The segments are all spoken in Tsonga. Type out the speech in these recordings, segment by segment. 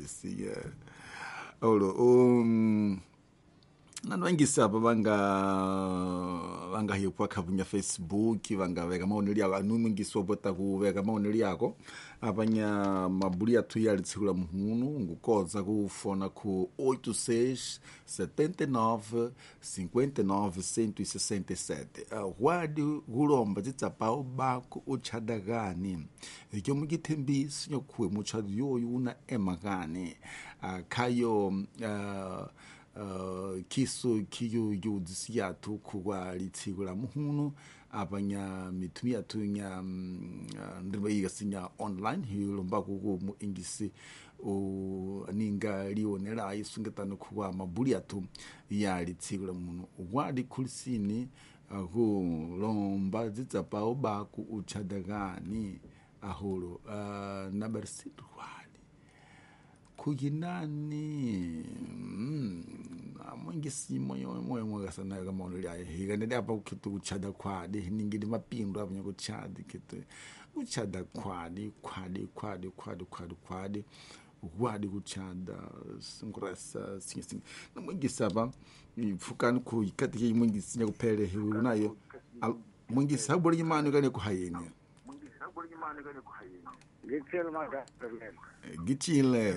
Siya olo nanu vangisi apa vanga hipwa khavunya Facebook vanga veka maonelo yako anu mwingisi wapota kuveka maonelo yako apanya mabuli athu ya litshiku la muhunu ngukodza kufona ku 86 79 59 167. Wadi kulomba tsitsapao bako utshadakani ikyo mukithembisi nyokhuwe mutshado yoyu una emakani khayo kiso kiyo yudzisi yathu khuwa litshiku la muhunu apanya mithumi yathu nya ndima ikasinya online hilomba kuku mu ingisi ninga lionela isungetano khuwa mabuli athu ya litshiku la muhunu wadi khulisini kulomba tsitsapao baku utshadakani ahulu nabarisitu wadi kuyinani mwingisi moyo mwakasana kamaono lyaye hikanele apa kukhitu kuchada khwadi ningili mapindu apanya kuchadi khitu kuchada khwadi khwadi khwadi khwadi khwadi khwadi wadi kuchada singurasa singa singa namwingisi apa ipfukani khu ikatike mwingisi nyakuphele hiwe unayo mwingisi habuli imani kane kuhayeni gitshile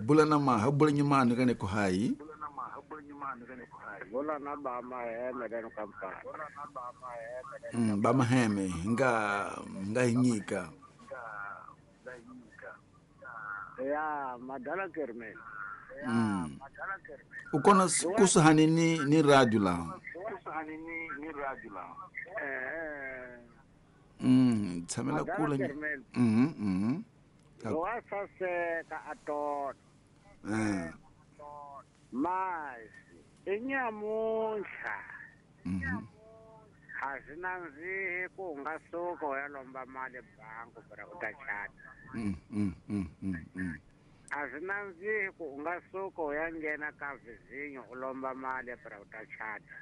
bula na ma habula nyimani kane kuhayi bula na ba maheme kane kampala ba maheme nga hinyika ya madala kermel ukona kusuhani ni radio la tshamela kula wa saseka atona masi inyamuntlha a swi nandzihi ku u nga suka u ya lomba mali bangi bra u ta chata. A swi nandzihi ku u nga suka u ya nghena ka vizinyo u lomba mali bra u ta chata.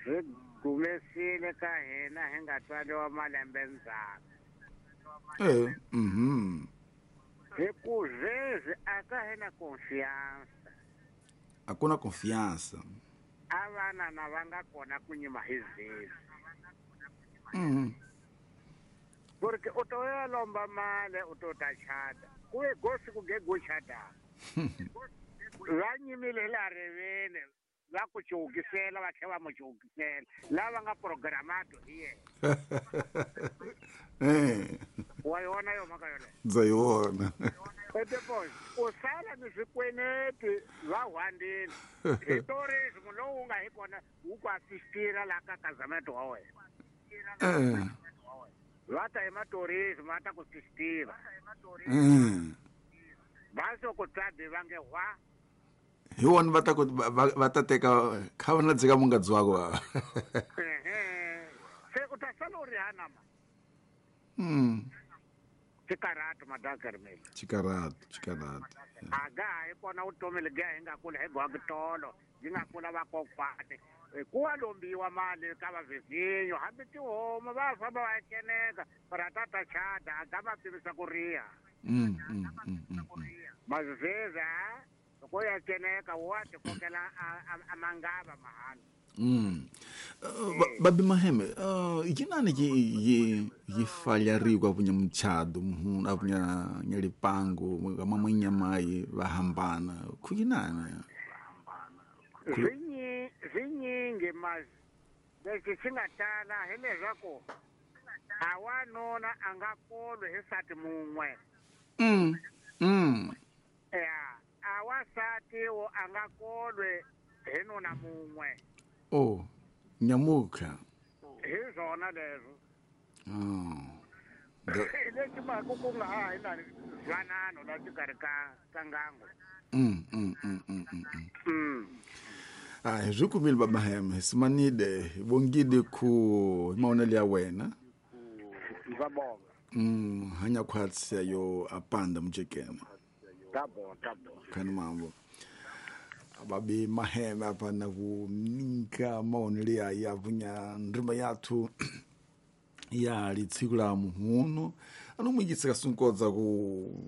Swi gumesile ka hina hi nga tswariwa malembe ndzhaku. Hi ku zwezi a ka hina confiança. Hakuna confiança. A vana na va nga kona ku nyima hi zwezi. Porque u to ya lomba mali u to ta chata. Ku ve gosi ku ge go chata. Va nyimile hi laha riveni va ku cukisela va tlhela va mu cukisela lava nga programato hi yena. Wa yona yo mhaka yoleyo ndza yi vona. U sala ni swikweneti va hwandini hi tourism lowu nga hi kona wu ku assistira laha ka kazameto wa wena. Va ta hi matourism va ta ku assistira. Va so ku tsabi va nge hwa hi wona va ta ku va ta teka kha va na dzika mungadzi wako. Se u ta sala u ri hanama. Chikarato madakarmel. Chikarato. Aga hi kona vutomi lebyi hi nga kula hi gwakitolo byi nga kula vakokwani ku wa lombiwa mali ka vavizinyo hambi tihomu va famba va keneka ratata chada aga va pimisa ku riha. Maziveza loko ya keneka wa tikokela a mangava mahala. Babi Maheme, yinani yi falyarikwa apunya mchado muhunu apunya nyalipango kama mwinyamai va hambana kuyinani swinyingi mas lexi xi nga tala hileswaku a wanuna a nga kolwi hi nsati mun'we. Ya a wasati wo a nga kolwi hi nuna mun'we. Oh, nyamuka. Hi swona leswo. Lexi mhaka ku nga ha hi na ntwanano la xikarhi ka ngango. Ah, swi kumile Baba Maheme, simanide bongide ku maonelo ya wena. Ndza bonga. Hanya khwatsi yo apanda mjekene. Tabo. Khani mambo. Babi Maheme apa na kuninka maonelo ya yavunya ndima yathu ya litshiku la muhunu anomwikitsika sunkodza ku